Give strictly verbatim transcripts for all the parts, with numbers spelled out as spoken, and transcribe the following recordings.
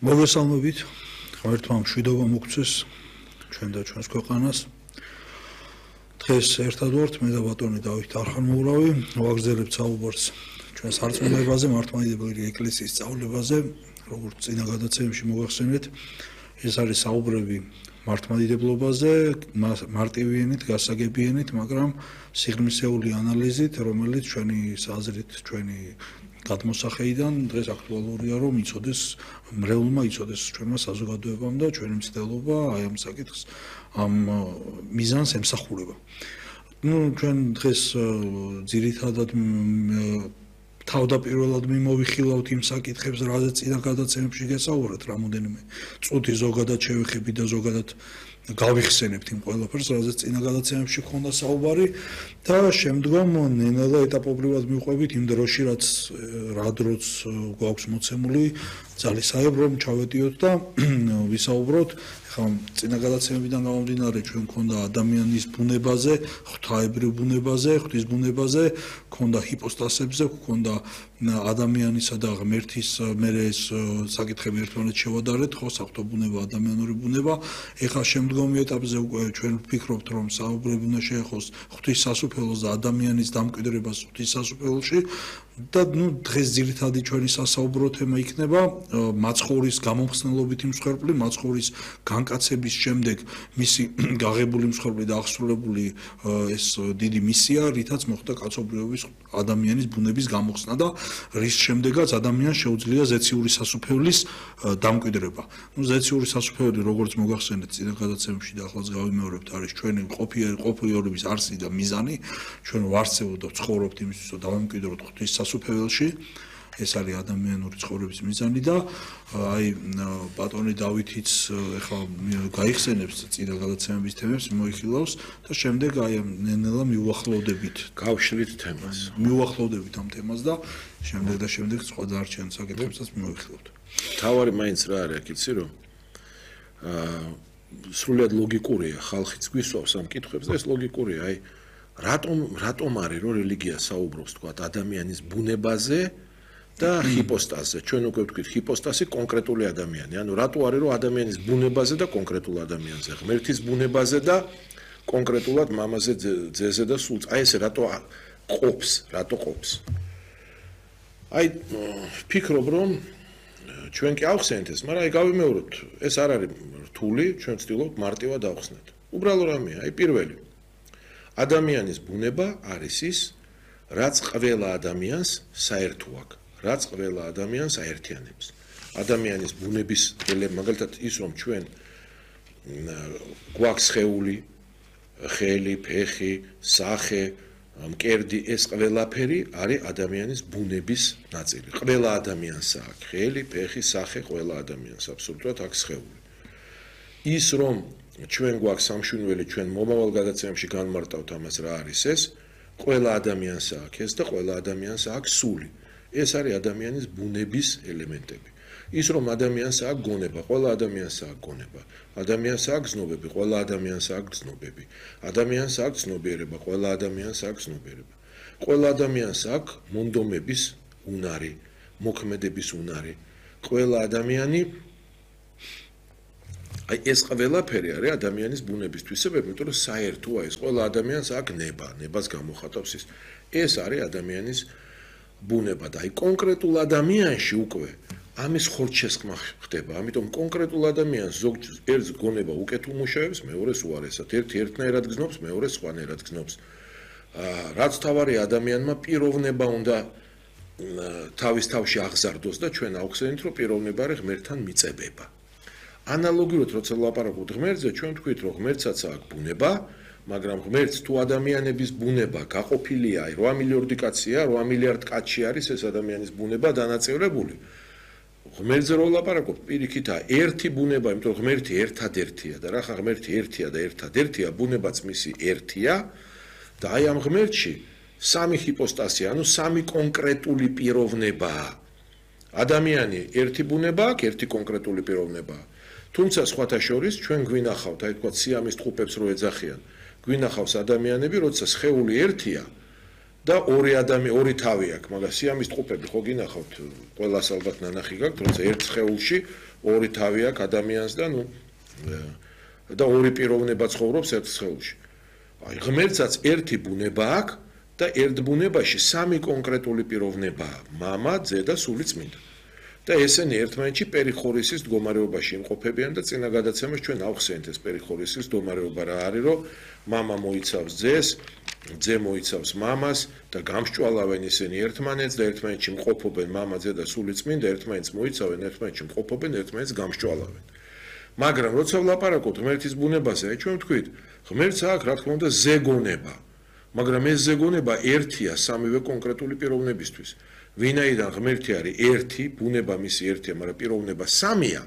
მოგესალმებით, ღმერთმა მშვიდობა მოგცეს ჩვენ და ჩვენს ქვეყანას. დღეს ერთად ვართ მე და ბატონი დავით არხანმოურავი, ვაგრძელებთ საუბარს ჩვენ სარწმუნოებაზე, მართლმადიდებელი ეკლესიის სწავლებაზე, როგორც წინა გადაცემებში მოგახსენეთ, ეს არის საუბრები მართლმადიდებლობაზე, მარტივიანით, გასაგებიანით, მაგრამ სიღრმისეული ანალიზით, რომელიც ჩვენი აზრით, ჩვენი გადმოსახედიდან დღეს აქტუალურია, რომ იცოდეს მრევლმა იცოდეს ჩვენმა საზოგადოებამ და ჩვენი მცდელობა აი ამ საკითხს ამ მიზანს ემსახურება. ნუ ჩვენ დღეს ძირითადად თავდაპირველად მიმოვიხილავთ იმ საკითხებს, რაზეც წინა გადაცემებში გესაუბრეთ, რამოდენიმე წუთი ზოგადად შევეხები და ზოგადად გავიხსენებთ იმ ყველაფერს, რაზეც წინა გადაცემებში გქონდა საუბარი და შემდგომ ნელა ეტაპობრივად მივყვებით იმ დროში, რაც რა დროც გვაქვს მოცემული ძალისხმევ რომ ჩავედიოთ და ვისაუბროთ. ხა წინა გადაცემებიდან გამომდინარე ჩვენ გქონდა ადამიანის ბუნებაზე, ღვთაებრივ ბუნებაზე, ღვთის ბუნებაზე, გქონდა ჰიპოსტასებზე, გქონდა ადამიანისა და ღმერთის მერე ეს საკითხები ერთმანეთს შევადარეთ, ხო, საღვთო ბუნება, ადამიანური ბუნება. ეხლა შემდგომი ეტაპზე უკვე ჩვენ ვფიქრობთ, რომ საუბრები უნდა შეეხოს ღვთის სასუფეველს და ადამიანის დამკვიდრებას ღვთის სასუფეველში. და ნუ დღეს ძირითადი ჩვენი სასაუბრო თემა იქნება მაცხოვრის გამომხსნელობითი მსხვერპლი, მაცხოვრის განკაცების შემდეგ მისი გაღებული მსხვერპლი და აღსრულებული ეს დიდი მისია, რითაც მოხდა კაცობრიობის ადამიანის ბუნების გამოხსნა და რის შემდეგაც ადამიანს შეუძლია ზეციური სასუფეველის დამკვიდრება. ნუ ზეციური სასუფეველი, როგორც მოგახსენეთ წინა გადაცემებში და ახლაც გავიმეორებთ, არის ჩვენი ყოფიერების არსი და მიზანი. ჩვენ ვარსებობთ და ვცხოვრობთ იმისთვის, რომ დავამკვიდროთ ღვთის სასუფეველში. ეს არის ადამიანური ცხოვრების მიზანი და აი ბატონი დავითიც ეხლა გაიხსენებს წინა გადაცემების თემებს, მოიხილავს და შემდეგ აი ნელა მიუახლოვდებით გავშლით თემას. მიუახლოვდებით ამ თემას და შემდეგ და შემდეგ სხვა დარჩენ საკითხებსაც მოიხილავთ. თავარი მაინც რა არის, იცი რომ აა სრულად ლოგიკურია, ხალხიც გვისვავს ამ კითხვებს და ეს ლოგიკურია, აი რატომ რატომ არის რომ რელიგია საუბრობს თქვა ადამიანის ბუნებაზე და ჰიპოსტაზზე. ჩვენ უკვე ვთქვით, ჰიპოსტაზი კონკრეტული ადამიანი. ანუ რატო არის რომ ადამიანის ბუნებაზე და კონკრეტულ ადამიანზე, ღმერთის ბუნებაზე და კონკრეტულად მამაზე, ძეზე და სულს. აი ესე რატო ყოფს, რატო ყოფს. აი ვფიქრობ რომ ჩვენ კი ავხსენეთ ეს, მაგრამ აი გავიმეოროთ, ეს არ არის რთული, ჩვენ ვცდილობთ მარტივად ავხსნათ. უბრალო რამეა, აი პირველი ადამიანის ბუნება არის ის, რაც ყველა ადამიანს საერთო აქვს, რაც ყველა ადამიანს აერთიანებს. ადამიანის ბუნების ელემენტი, მაგალითად ის, რომ ჩვენ გვაქვს სხეული, ხელი, ფეხი, სახე, მკერდი, ეს ყველაფერი არის ადამიანის ბუნების ნაწილი. ყველა ადამიანს აქვს ხელი, ფეხი, სახე, ყველა ადამიანს აბსოლუტურად აქვს სხეული. ის რომ ჩვენ გვაქვს სამშვენივრელი, ჩვენ მომავალ გადაცემებში განმარტავთ ამას რა არის ეს, ყველა ადამიანს აქვს ეს და ყველა ადამიანს აქვს სული. ეს არის ადამიანის ბუნების ელემენტები. ის რომ ადამიანს აქვს გონება, ყველა ადამიანს აქვს გონება. ადამიანს აქვს ზნობები, ყველა ადამიანს აქვს ზნობები. ადამიანს აქვს ცნობიერება, ყველა ადამიანს აქვს ცნობიერება. ყველა ადამიანს აქვს მონდომების უნარი, მოქმედების უნარი. ყველა ადამიანი აი ეს ყველაფერი არის ადამიანის ბუნების თვისებები, იმიტომ რომ საერთოა ეს, ყველა ადამიანს აქვს ნება, ნებას გამოხატავს ის. ეს არის ადამიანის ბუნება და აი კონკრეტულ ადამიანში უკვე ამის ხორცშესხმა ხდება. ამიტომ კონკრეტულ ადამიანს ზოგ ერთ გონება უკეთ უმუშავებს, მეორეს უარესად. ერთი ერთნაირად გზნობს, მეორე სხვანაირად გზნობს. რაც თავარია ადამიანმა პიროვნება უნდა თავის თავში აღზარდოს და ჩვენ ავხსენით, რომ პიროვნება არის ღმერთთან მიწებება. ანალოგიურად როცა ვლაპარაკობთ ღმერთზე, ჩვენ ვთქვით, რომ ღმერთსაც აქვს ბუნება, მაგრამ ღმერთს თუ ადამიანების ბუნება გაყოფილია, აი რვა მილიარდი კაცია, რვა მილიარდ კაცში არის ეს ადამიანის ბუნება დანაწევრებული. ღმერთზე რო ვლაპარაკობთ, პირიქითაა ერთი ბუნება, იმიტომ რომ ღმერთი ერთადერთია და რახან ღმერთი ერთია და ერთადერთია, ბუნებაც მისი ერთია და აი ამ ღმერთში სამი ჰიპოსტასია, ანუ სამი კონკრეტული პიროვნებაა. ადამიანი ერთი ბუნება აქვს, ერთი კონკრეტული პიროვნებაა. თუმცა სხვათა შორის ჩვენ გვინახავთ, აი თქვა სიამის ტყუპებს რო ეძახიან, გვინახავს ადამიანები, როცა სხეული ერთია და ორი ადამიანი, ორი თავი აქვს, მაგრამ სიამის ტყუპები ხო გინახავთ, ყველას ალბათ ნანახი გაქვთ, როცა ერთ სხეულში ორი თავი აქვს ადამიანს და ნუ და ორი პიროვნება ცხოვრობს ერთ სხეულში. აი, ღმერთსაც ერთი ბუნება აქვს და ერთ ბუნებაში სამი კონკრეტული პიროვნებაა: მამა, ძე და სულიწმინდა. და ესენი ერთმანეთში პერიხორისის მდგომარეობაში იმყოფებიან და წინა გადაცემას ჩვენ ავხსენეთ ეს პერიხორისის მდგომარეობა რა არის, რომ მამა მოიცავს ძეს, ძე მოიცავს მამას და გამსჭვალავენ ისინი ერთმანეთს და ერთმანეთში მყოფობენ მამა, ძე და სულიწმინდა, ერთმანეთს მოიცავენ, ერთმანეთში მყოფობენ, ერთმანეთს გამსჭვალავენ. მაგრამ როცა ვლაპარაკობთ ღმერთის ბუნებაზე, ჩვენ ვთქვით, ღმერთს აქვს რა თქმა უნდა ზეგონება, მაგრამ ეს ზეგონება ერთია სამივე კონკრეტული პიროვნებისთვის. ვინაიდან ღმერთი არის ერთი, ბუნება მისი ერთია, მაგრამ პიროვნება სამია,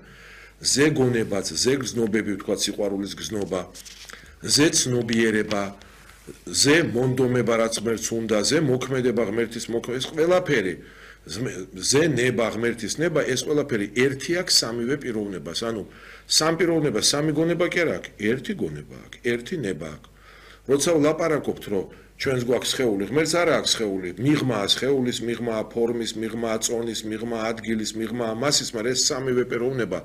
ზეგონებაც, ზეგრძნობები ვთქვათ, სიყვარულის გზნობა, ზეცნობიერება, ზე მონდომება რაც ღმერთს უნდა, ზე მოქმედება ღმერთის მოქმედება, ეს ყველაფერი, ზე ნება ღმერთის ნება, ეს ყველაფერი ერთი აქვს სამივე პიროვნებას. ანუ სამ პიროვნება, სამი გონება კი არ აქვს, ერთი გონება აქვს, ერთი ნება აქვს. როცა ვლაპარაკობთ, რომ ჩვენს გვაქვს სხეული, ღმერთს არ აქვს სხეული, მიღმაა სხეულის, მიღმაა ფორმის, მიღმაა წონის, მიღმაა ადგილის, მიღმაა მასის, მაგრამ ეს სამივე პიროვნება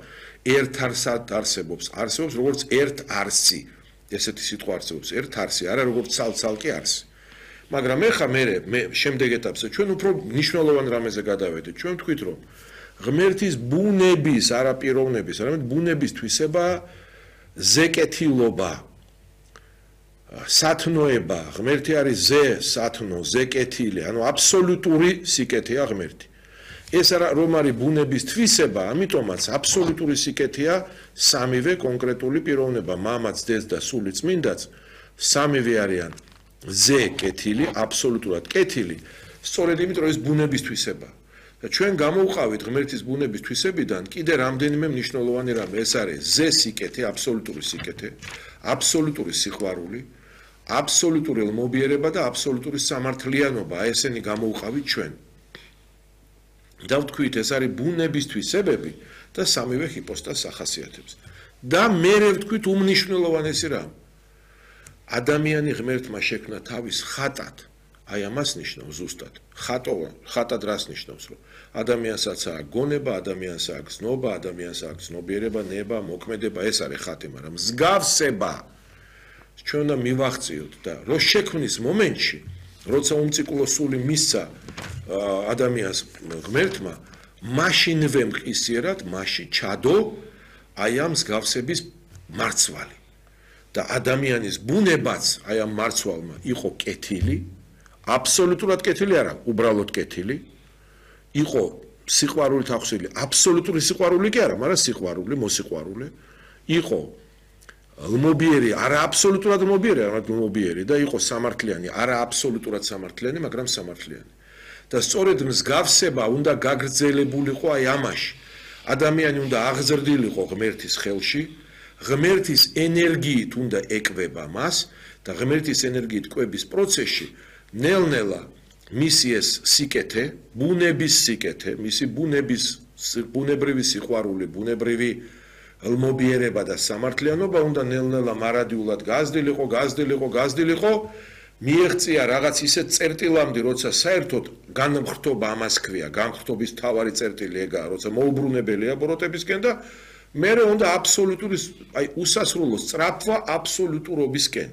ერთ არსად არსებობს, არსებობს როგორც ერთ არსი. ესეთი სიტყვა არსებობს, ერთ არსი, არა როგორც ცალ-ცალკე არსი. მაგრამ ეხა მე მე შემდეგ ეტაპზე ჩვენ უფრო მნიშვნელოვან რამეზე გადავედით. ჩვენ ვთქვით, რომ ღმერთის ბუნების, არა პიროვნების, არამედ ბუნების თვისება ზეკეთილობა, სათნოება, ღმერთი არის ზე, სათნო, ზეკეთილი, ანუ აბსოლუტური სიკეთეა ღმერთი. ეს რომ არის ბუნების თვისება, ამიტომაც აბსოლუტური სიკეთეა სამივე კონკრეტული პიროვნება, მამაც, ძეც და სულიწმინდაც, სამივე არიან ზე კეთილი, აბსოლუტურად კეთილი, სწორედ იმიტომ რომ ეს ბუნების თვისება. და ჩვენ გამოვყავით ღმერთის ბუნების თვისებიდან კიდე რამდენიმე მნიშვნელოვანი რამე, ეს არის ზე სიკეთე, აბსოლუტური სიკეთე, აბსოლუტური სიყვარული, აბსოლუტური ელმობიერება და აბსოლუტური სამართლიანობა, ესენი გამოვყავით ჩვენ. და ვთქვით, ეს არის ბუნების თვისებები და სამივე ჰიპოსტაზს ახასიათებს. და მე ვთქვით უმნიშვნელოვანესი რამ. ადამიანი ღმერთმა შექმნა თავის ხატად. აი ამას ნიშნავს ზუსტად. ხატოვა, ხატად რას ნიშნავს, რომ ადამიანსაც აქვს გონება, ადამიანს აქვს ზნობა, ადამიანს აქვს ზნობიერება, ნება, მოქმედება, ეს არის ხატი, მაგრამ მსგავსება ჩვენ უნდა მივახციოთ და რო შექმნის მომენტში, როცა უმციკლო სული მისცა ადამიანს ღმერთმა, მაშინვე მყისიერად, მაშინ ჩადო აი ამ მსგავსების მარცვალი. და ადამიანის ბუნებაც აი ამ მარცვალმა იყო კეთილი, აბსოლუტურად კეთილი არა, უბრალოდ კეთილი, იყო სიყვარულით ახსილი, აბსოლუტური სიყვარული კი არა, მაგრამ სიყვარული, მოსიყვარული, იყო ლმობიერი, არა აბსოლუტურად ლმობიერი, არამედ ლმობიერი და იყო სამართლიანი, არა აბსოლუტურად სამართლიანი, მაგრამ სამართლიანი. და სწორედ მსგავსება უნდა გაგრძელებულიყო აი ამაში. ადამიანი უნდა აღზრდილიყო ღმერთის ხელში, ღმერთის ენერგიით უნდა ეკვება მას და ღმერთის ენერგიით კვების პროცესში ნელ-ნელა მისი ეს სიკეთე, ბუნების სიკეთე, მისი ბუნების ბუნებრივი სიყვარული, ბუნებრივი ელმობიერება და სამართლიანობა უნდა ნელ-ნელა მარადიულად გაზრდილიყო, გაზრდილიყო, გაზრდილიყო, მიეღწია რაღაც ისეთ წერტილამდე, როცა საერთოდ განმხრთობა ამას ქვია, განმხრთობის თავარი წერტილი ეგაა, როცა მოუბრუნებელია ბოროტებისკენ და მერე უნდა აბსოლუტური, აი უსასრულო სწრაფვა აბსოლუტურობისკენ.